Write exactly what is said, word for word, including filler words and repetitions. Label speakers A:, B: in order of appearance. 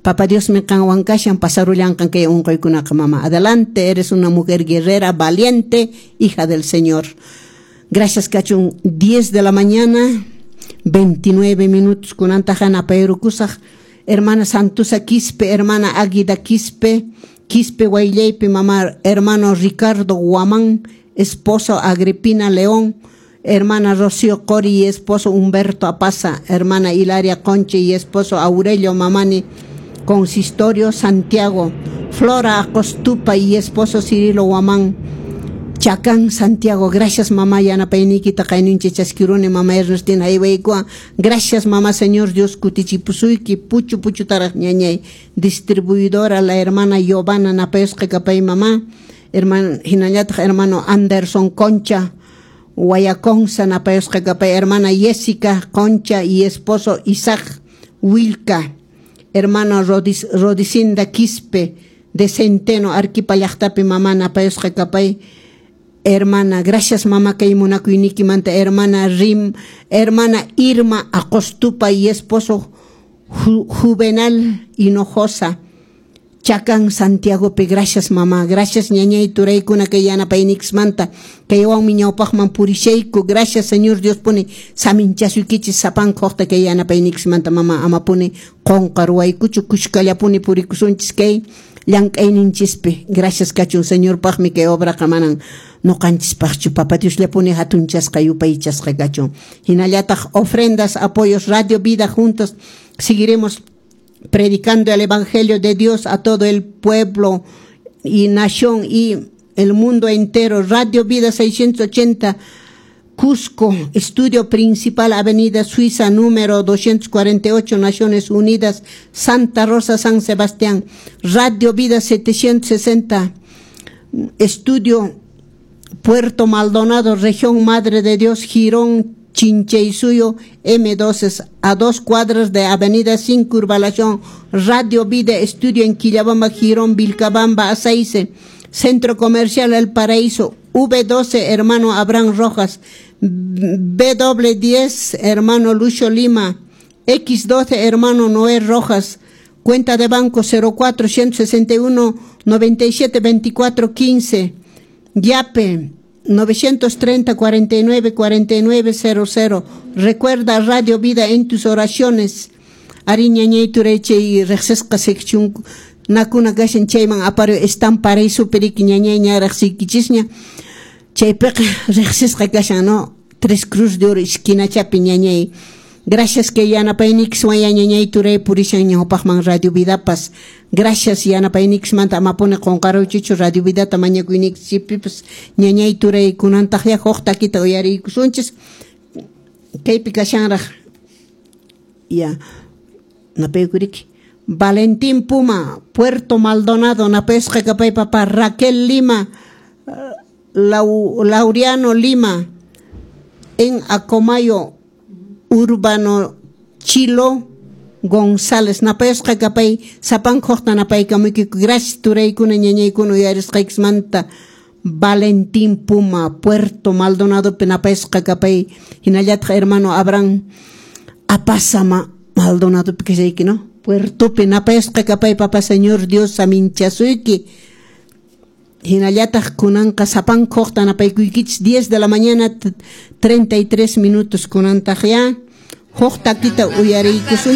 A: Papa Diosmi qanwan kashan, pasarullanqan kay unquykunaqa, mama. Adelante, eres una mujer guerrera, valiente, hija del Señor. Gracias kachun. diez de la mañana, veintinueve minutos. Kunantaqa napayrukusaq hermana Santusa Quispe, hermana Águida Quispe, Quispe Guayllaypi, mamá, hermano Ricardo Guamán, esposo Agripina León, hermana Rocío Cori y esposo Humberto Apaza, hermana Hilaria Conche y esposo Aurelio Mamani, Consistorio Santiago, Flora Acostupa y esposo Cirilo Guamán, Chacán, Santiago. Gracias, mamá, yanapayniykita kayninchik chaskiruni, mama Ernestina aywaykua. Gracias, mamá. Señor Dios kutichipusuyki puchu puchutaraq, ñañay. Distribuidora la hermana Giovanna, napayusqa kapay, mamá. Hermano, hinallataq hermano Anderson Concha, Guayaconza, napayusqa kapay, hermana Jessica Concha y esposo Isaac Wilka, hermano Rodis, Rodicinda Quispe de Centeno, Arequipa llaqtapi, mamá, napayusqa kapay. Hermana, gracias, mamá, kay munakuynikimanta. Hermana Rim, hermana Irma Acostupa y esposo Ju, Juvenal Hinojosa, Chacán, Santiago pe. Gracias, mamá, gracias, ñañay turaykuna kay yanapaynikismanta, kaywanmi ñawpaqman purishayku. Gracias, Señor Dios puni saminchasuykichis sapanka huqta kay yanapaynikismanta, mama. Amapuni qunqaruwaykuchu, kushkallapuni purikusunchis kay llank'ayninchispi. Gracias kachun. Señorpaqmi kay obraqa, manan nuqanchispaqchu. Papa Diosllapuni hatunchasqa yupaychasqa kachun. Hinallataq ofrendas, apoyos, Radio Vida. Juntos seguiremos predicando el evangelio de Dios a todo el pueblo y nación y el mundo entero. Radio Vida seiscientos ochenta, Cusco, estudio principal, Avenida Suiza, número doscientos cuarenta y ocho, Naciones Unidas, Santa Rosa, San Sebastián. Radio Vida setecientos sesenta, estudio Puerto Maldonado, región Madre de Dios, Girón Chinchaysuyo, M doce, a dos cuadras de Avenida Circunvalación. Radio Vida, estudio en Quillabamba, Girón, Vilcabamba, Aceice, Centro Comercial El Paraíso, V doce, hermano Abraham Rojas, B diez, hermano Lucio Lima, X doce, hermano Noé Rojas, cuenta de banco cero cuatro ciento sesenta y uno noventa y siete veinticuatro quince, Yape novecientos treinta cuarenta y nueve cuarenta y nueve cero cero. Recuerda Radio Vida en tus oraciones. Arí, ñañay turay, chay riqsisqa sección nakuna kashan chayman apario están paraíso periki, ñañay, ña riqsiykichisña chaypiqa riqsisqa kashan, no? Tres Cruz de Oro esquinachapi, ñañay. Gracias que yanapaynikiswan, ñañay turay, purishan ñawpaqman Radio Vidapas. Gracias yanapaynikismanta, amapuni qunqaruychichu Radio Vidata mañakuynikichipipas, ñañay turay. Kunantaqya huk takita uyariykusunchis. Kaypi kashanraq ya napaykuriki. Valentín Puma, Puerto Maldonado, napayusqa kapay, papá. Raquel Lima, Lau, Laureano Lima, en Acomayo, Urbano Chilo González, napayusqa kapay. Sapanka napaykamuykiku. Gracias, turaykuna, ñañaykuna, uyarisqaykismanta. Valentín Puma, Puerto Maldonado, napayusqa kapay. Hinallataq hermano Abraham Apasama, Maldonado kashayki, no? Puertopi napayusqa kapay, papá. Señor Dios saminchasuyki. Hinallataq kunanqa sapanka huqta napaykuykichis. diez de la mañana treinta y tres minutos. Kunantaq ya huk takita uyariykusun.